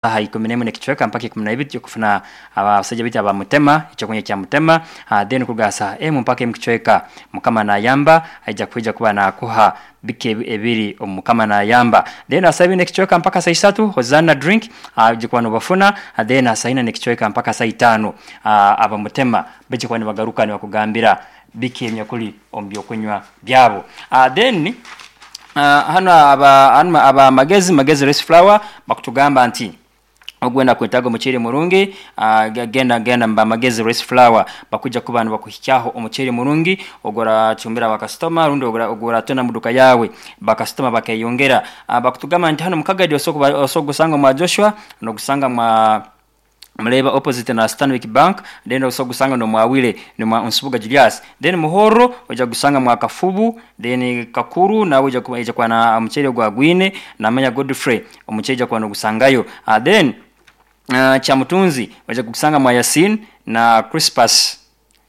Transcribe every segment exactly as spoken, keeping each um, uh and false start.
Aha ikumi n'emwe n'ekicweka mpaka ikumi na ibiri okufuna abasajja bitu abamutema ekyokunywa kya mutema. uh, then kuruga saha emu mpaka emu kicweka, Mukama nayamba aija kwija kuba nakuha biki ebiri omu Mukama nayamba. Then saa ibiri n'ekicweka mpaka saa isatu, Hosanna drink uh, kuba nobafuna. uh, then saa ina n'ekicweka mpaka saa itaano, uh, abamutema baija kuba nibagaruka nibakugambira biki ebinyakuli omu byokunywa byabo. uh, then uh, hano aba hano aba magezi magezi rice flour bakutugamba nti ogwenda kwetaga omuceeri murungi, uh, genda genda mba Magezi rice flour, bakuja kuba nibakuhikyaho omuceeri murungi oguracumbira bakasitoma rundi oguratunda mu duka yawe, bakasitoma bakeyongera. uh, bakutugamba nti hano mukagadi osobola gusanga mwa Joshua, nogusanga mwa Muleba opposite na Stanwick Bank, then osobola gusanga nomwawile nomwa Nsubuga Julius. Then Muhoro oja gusanga mwa Kafubu, then Kakuru nawe oja kuba kuba na omuceeri gwa Gwine namanya Godfrey, omuceeri oja kuba nogusangayo. uh, then uh, Kyamutunzi oja kugusanga mwa Yasin na Crispus.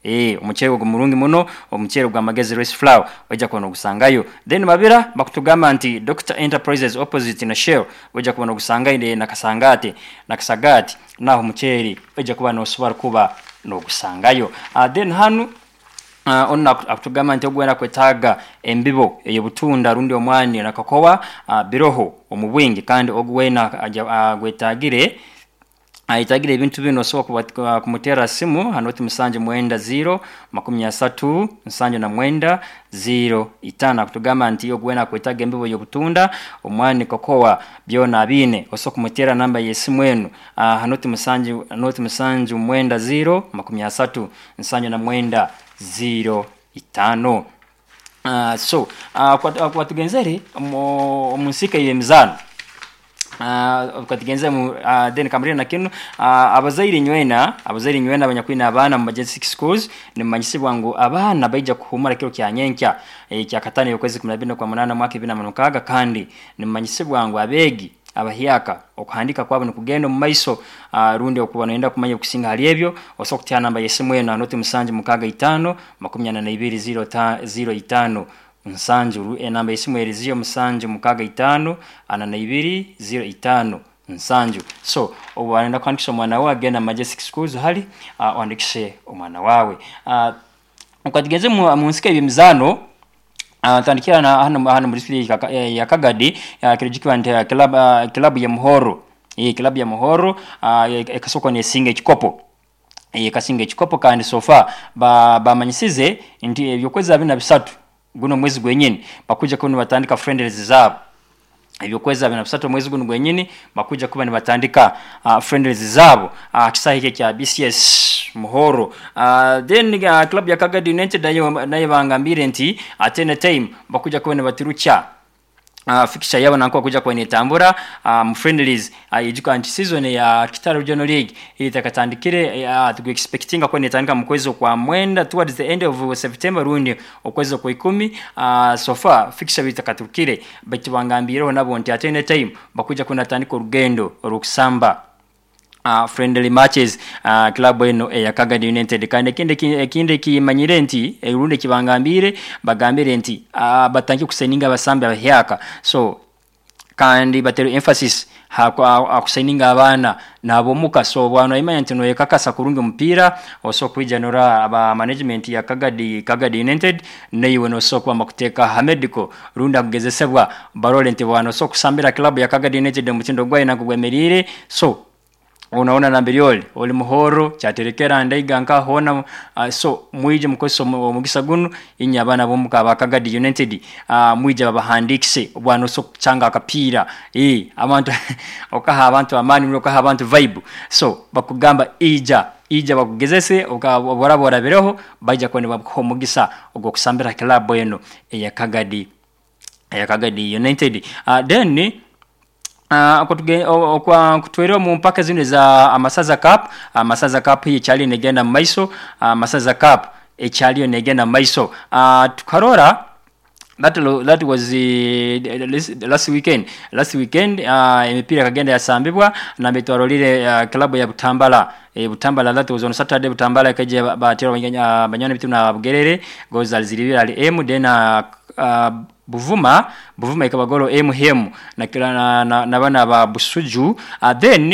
Eh, omuceeri ogwo murungi muno, omuceeri gwa Magezi rice flour ojja kuba nogusangayo. Then Mabira bakutugamba nti Doctor Enterprises opposite na Shell, ojja kuba nogusangayo na Kasangate na Kasagati, naho omuceeri ojja kuba nosobora kuba nogusangayo. uh, then hanu Uh, ono akutugamba nti ogwenda kwetaaga embibo ey'obutunda rundi omwani na kakowa, uh, biroho omu bwingi, kandi ogwena uh, gwetagire ayetagire ebintu bino osobola kumutera simu hanoti musanju mwenda ziro makumi asatu nsanju na mwenda ziro itano. Akutugamba nti ogwena kwetaga embibo y'obutunda, omwani, kokowa, byona abine, osobola kumutera namba y'esimu enu uh, hanoti musanju noti musanju mwenda ziro makumi asatu nsanju na mwenda ziro itano. uh, so uh, kwa tugenzere omu nsika y'emizaano, uh, katugenze mu uh, then kamrina na kinu, uh, abazaire nywena abazaire nywena abanyakwina abaana mu Majestic Schools, nimanyisibwa ngu abaana baija kuhumura kiro kya nyenkya e, kya katano okwezi kumi na bina kwa munana mwaka ibiri na mukaga. Kandi nimanyisibwa ngu abeegi abahyaka okuhandika kwabo nikugenda omu maiso. uh, rundi okuba noyenda kumanya okusinga hali ebyo, osobola kutya namba y'esimu eno noti musanju mukaga itaano makumi ana na ibiri ziro ta, ziro itaano nsanju. Enamba y'esimu eri ziro musanju mukaga itaano ana na ibiri ziro itaano nsanju. So obu arenda kuhandikisha omwana wawe, agenda Majestic Schools hali uh, ohandikishe omwana wawe. uh, ukatigenze mu, mu nsika y'emizaano, Uh, tandikira na hano hano mu district ya Kagadi, uh, kirijikiwa nti club uh, club ya Muhoro, eh club ya Muhoro uh, ekasoko nesinga ekikopo, ekasinga ekikopo. Kandi so far ba bamanyisize nti ebyokwezi abiri na bisatu guno mwezi gwenyini bakuja kuba nibatandika friendlies zabo. Ebyokwezi abiri na bisatu mwezi guno gwenyini bakuja kuba nibatandika uh, friendlies zabo uh, kisaha ekyo kya B C S Muhoro. uh, then uh, club ya Kagadi United nayo nayo bangambire nti at any time bakuja kuba nibatirukya uh, fixture yabo nanko kuja kuba netambura uh, mu friendlies. uh, ijuka nti season ya Kitara Regional League itakatandikire, uh, tuku expectinga ko netandika mu kwezi kwa mwenda, towards the end of September rundi okwezi kwa ikumi. uh, so far fixture bitakatukire, baitu bangambireho nabo nti at any time bakuja kunatandika orugendo orukusamba uh, friendly matches, uh, club eno eya Kagadi United. Kandi ekindi ekindi kimanyire nti erundi kibangambire bagambire nti uh, batangiye kusigninga abasambi abahyaka. So kandi batero emphasis akusigninga abaana nabomuka. So bwana imanya nti noyekakasa kurungi omupiira, osobola kwija nora aba management ya Kagadi Kagadi United, neiwe nosobola kuba bakuteeka ha medical rundi akugezesebwa, barole nti bwana osobola kusambira club ya Kagadi United, omutindo gwayo nagwo gwemeriire. So unaona nambiri oli oli Muhoro, Kyaterekera, Ndaiga, nka hona. uh, so mwije mukozesa omugisa guno, inye abaana bomuka aba Kagadi United, uh, mwije babahandikise bwana oso kuchanga akapiira, eh abantu okaha abantu amaani, okaha abantu vibe. So bakugamba ija ija bakugezese, oboraba orabireho baija kuba nibakuha omugisa ogw'okusambira club eno eya Kagadi eya Kagadi United. uh, then Uh, kutwere mu mpaka zino za Amasaza Cup. Amasaza Cup hii ekyali negenda mu maiso. Amasaza Cup ekyaliyo negenda mu maiso. uh, tukarora that, that was uh, last weekend last weekend uh, emipiira kagenda yasambibwa nambe twarolire uh, club ya Butambala, e, Butambala, that was on Saturday. Butambala kaje batera uh, banywana bitu na Bugerere goals zilibira ali m, then uh, uh, Buvuma Buvuma ikaba golo emu hemu na, na, na, na bana ba Busuju. uh, then